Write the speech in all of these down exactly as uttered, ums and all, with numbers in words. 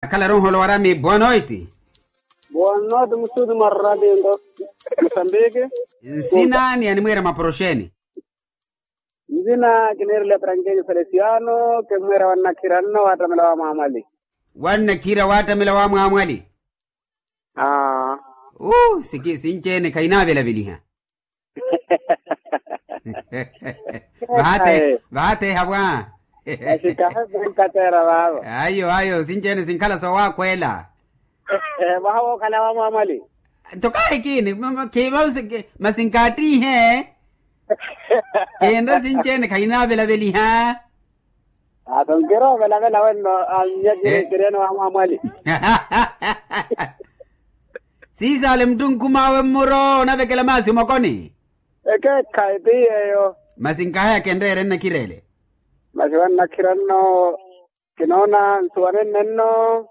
Akhalaru nholo warami boa noiti. Boa noiti musuti mwa radio nto musambiki. Nsina ni animwira maporoxeni. Nsina kiniirela eparankenyu felesiano kimwira wannakhira nno wattamela wa mwamwali. Wannakhira wattamela wa mwamwali. Aa. Uu sinci-ene khainaavelaveliha. Vahateha vwa. Ayo ayo sinci-ene sinkhala soowakhweela. Mwaha wookhala wa mwamwali. Nto kaahikini. Masi nkaattiihe. Kinre sinci-ene khainaavelaveliha. Ato nkiroovelavela wenno. Annyakire kiriene wa mwamwali. Siisaale muttunkhum'awe mmuro onavekela maasi omokoni. Ekeekhayi ti yeeyo. Masi nkahaya kenreere nnakhirele. Masi wannakhira nno. Kinoona nsuwanenne nno.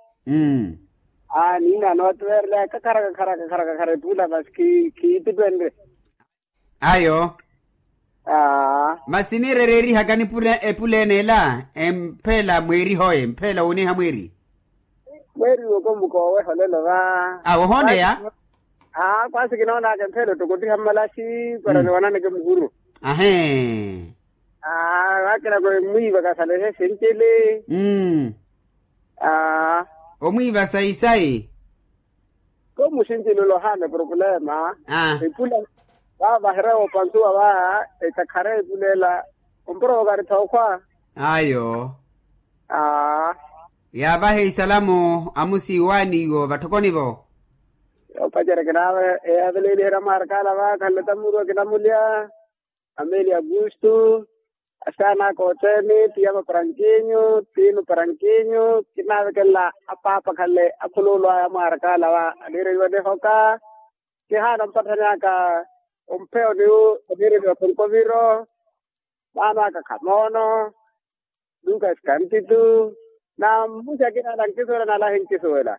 Aani inaano wattuweerela kakhara kakhara kakhara kakhara epuula masi khiittipenre. Ayo. Masi niirereerihaka nipule epuleene ela empheela mweerihoye empheela wooniha mweeri. Mweeriwe ko mukooweha olelo va. Awo ohooneya. Aa kwasi kinoonaka empheela ottokotiha mmalaxi para niwananeke muhuru. Ahee. Aa akina ko emwiiva kasalehe sincili. Aa. Omwiiva sayi sayi. Ko musincili olohaana eproplema. Aa. Epula vaavaherya woopansuwa va ekakhara epulela. Omprovokaritha okhwa. Ayo. Aa. Yaavahe isalamu amusi waaniiwo vatthokoni-vo. Yoopacerya kinaavahe eyaaveleeliherya amwaarakaala va khanleta muru akinamulya. Amelia augusto. Asaana aka othene ti ama parankinyu ti inu parankinyu kinaavekela apaapa khale akhuluulu aya amwaarakaala va aniireiwa nihoka. Kihaana ompatthani aka ompheyo niwu oniireliwa khunkoviro. Maano aka khamoono. Lukas kantitu. Namusi akina ala nkisuwela n'ala ahinkisuwela.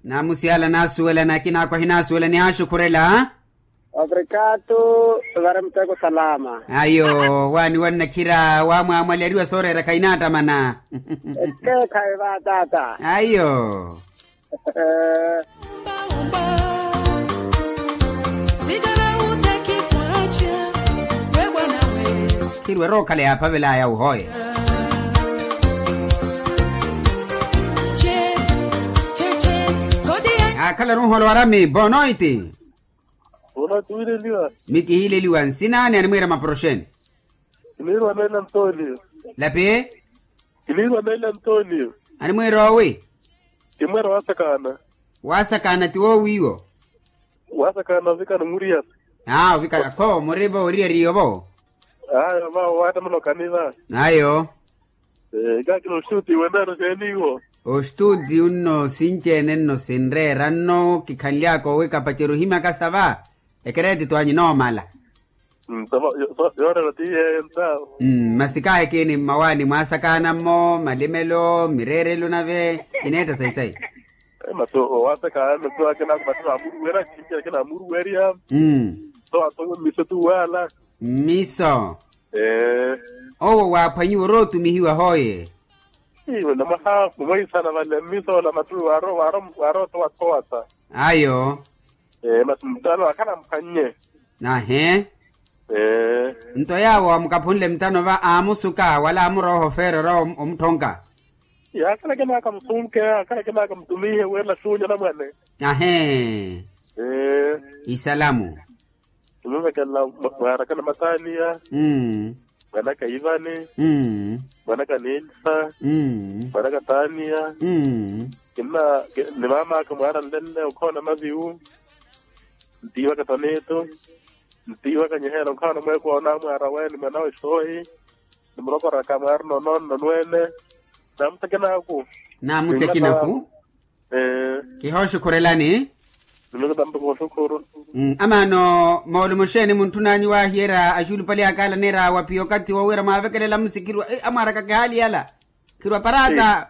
Namusi ala naasuwela n'akina akhu ahinaasuwela nihaaxukhurela. Obrigado. Vare muteko salama. Ayo waani wannakhira wa mwamwali ariwa sooreera khainaattamana. Ekeekhayi va taata. Ayo. Khirwe rookhala yaaphavelaya wuhoye. Akhalaru nholo warami bonoiti. Mikihiileliwa nsina ni animwiira maporoxeni. Kiniirwa meela ntoliyo. Lapi. Kiniirwa meela ntoliyo. Animwiira owi. Kimwera waasakaana. Waasakaana ti woowiiwo. Waasakaana ovikana muriyasa. Aa ovikana kho murivo oriyariyo vo. Aa vavo waattamela okaniva. Ayo. Kaakina ostuti wenaano seeniiwo. Ostuti unno sinci-ene nno sinreera nno kikhanly'aka owi kapacerya ohimyaka sa va. Ekereeti twanyi noomala. Yoorela ti yeeyo ntawo. Masi kaahikini mmawaani mwaasakaana-mmo malimelo mireerelo nave kineetta sayi sayi. Masi owaasakaana masi akina amuruwerya. Mmiso tuwaala. Mmiso. Owo waaphwanyiwa orootumihiwa hooye. Iwe namwaha mumweisana vale mmiso ola matu waarootowathowasa. Ayo. Masi mutano akhala amphwannye. Ahe. Nto yaawo amukaphunle mutano va aamusuka wala amuroha ofeera ora omuthonka. Akhala akinaka musunke akhala akinaka mutumihe wela xunya namwane. Ahe. Isalamu. Nimuvekela mwaaraka na mataniya. Mwanaka ivani. Mwanaka nilsa. Mwanaka taniya. Ni maamaka mwaara nlenne okhoona maviwu. Ntiiwaka tonitu. Ntiiwaka nyiheela okhoona mweeko onamwaara weeni mwanawe soohi. Nimurokoraka mwaarina onoonno nweene. Namusi akinaaku. Namusi akinaaku. Kihooxukhurelani. Amaano moolumo xeeni muntthun'anyu waahiyerya axulupali aka ala aneera wapiya okathi wowira mwaavekelela musikhirwa amwaaraka kihaali yala. Khirwa parata.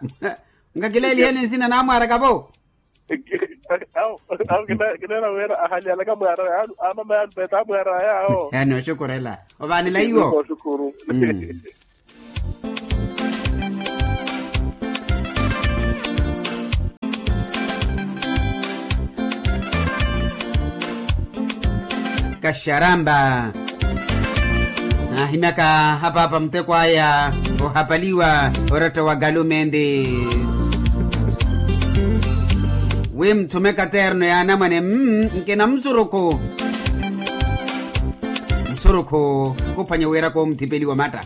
Nkakileeliheni nsina n'amwaaraka-vo. Awo kineera wira ahalyalaka mwaara aya amama yaani peeta amwaara aya awo. Yaani oxukurela. Ovaanela iwo. Oxukuru. Xaramba. Ahimyaka apaapa muteko aya ohapaliwa oratta wa galumendi. Wi muthume katerno ya anamwane mm, nkina musurukhu. Musurukhu khuphwanya wira koomuthipeliwa matta.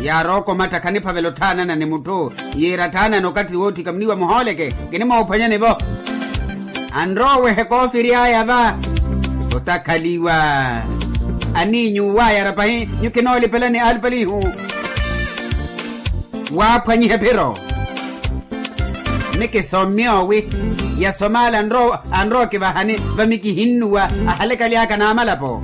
Yaarooko matta khaniphavela otthaanana ni mutthu. Yiira atthaanana okathi wootthika muniwa muhooleke. Kinimoophwanyani-vo. Anrowehe koofiri aya va. Otakhaliwa. Aniinyu wayara pahi nyukhinoolipelani alipalihu. Waaphwanyihe phiro. Mikisomme owi. Yasomaala anrowa kivahani. Vamikihinnuwa. Ahalekalyaka naamalapo.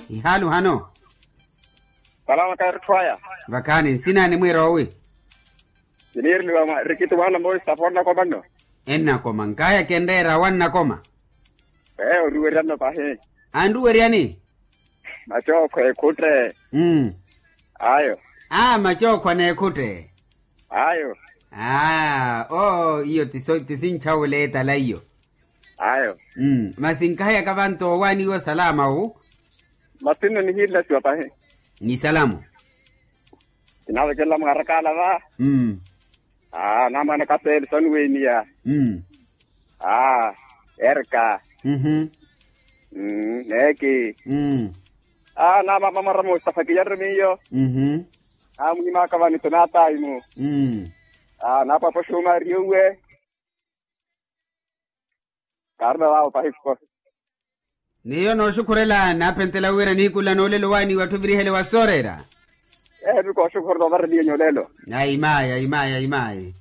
Ihaalu hano. Salama kairutthwaya. Vakhaani nsina nimwiira owi. Kiniiriliwa mwa rikiti waana moosi taphona komanno. Ennakoma nkaya kenreera wannakoma. Ee oruweryanno pahi. Anruweryani? Macookho ekhutte. Mm. Ayo. Aa macookho aneekhutte. Ayo. Aa oo iyo tisinchawula etala iyo. Ayo. Mm masi nkahayaka vanto owaaniwa salama wu. Masi nno nihiilasiwa pahi. Ni salamo. Kinavekelela mwarakala va. Mm. Aa namwana kapeeli soniweeniya. Mm. Aa erka. Mhm. Mm neeki. Mm. Aa namama mwara mustafa kiyarumi iyo. Mhm. Aa munyimaka vani tunataimu. Mm. Aa napapo shumari uwe. Kaarina vavo pahi khukosa. Niyo nooxukhurela naapentela wira nihiku nla noolelo waaniwa atthu virihele wa sooreera. Eevi kooxukhurela ovareliye nyolelo. Ayi mayi ayi mayi ayi mayi.